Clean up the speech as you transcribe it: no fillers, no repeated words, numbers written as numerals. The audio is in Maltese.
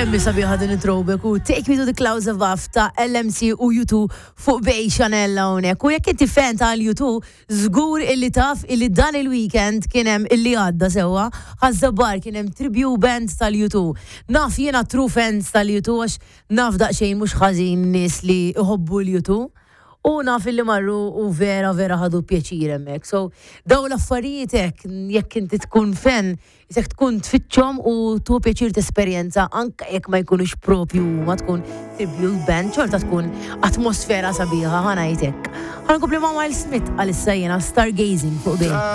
Kemm hi sabiħa din it-throwback u Take Me to the Clouds Above ta' LMC u U2 fuq Bay Chanel hawnhekk. U jekk inti fan ta' U2, żgur illi taf illi dan il-weekend kien hemm illi għadda sewwa, Ħaż-Żabbar kien hemm tribute band tal-U2. Naf jiena true fans tal-U2 għax naf daqsxejn mhux ħażin nies li jħobbu l-U2. U naf illi marru u vera vera ħadu pjaċir hemmhekk. So dawn l-affarijiet hekk jekk inti tkun fan Jekk tkun tfittxhom u tieħu pjaċir tesperjenza anke jekk ma jkunux propju huma tkun tribute band xorta tkun atmosfera sabiħa ħa ngħid hekk. Ħa nkompli ma' Miles Smith għalissa jiena Stargazing fuq Bay.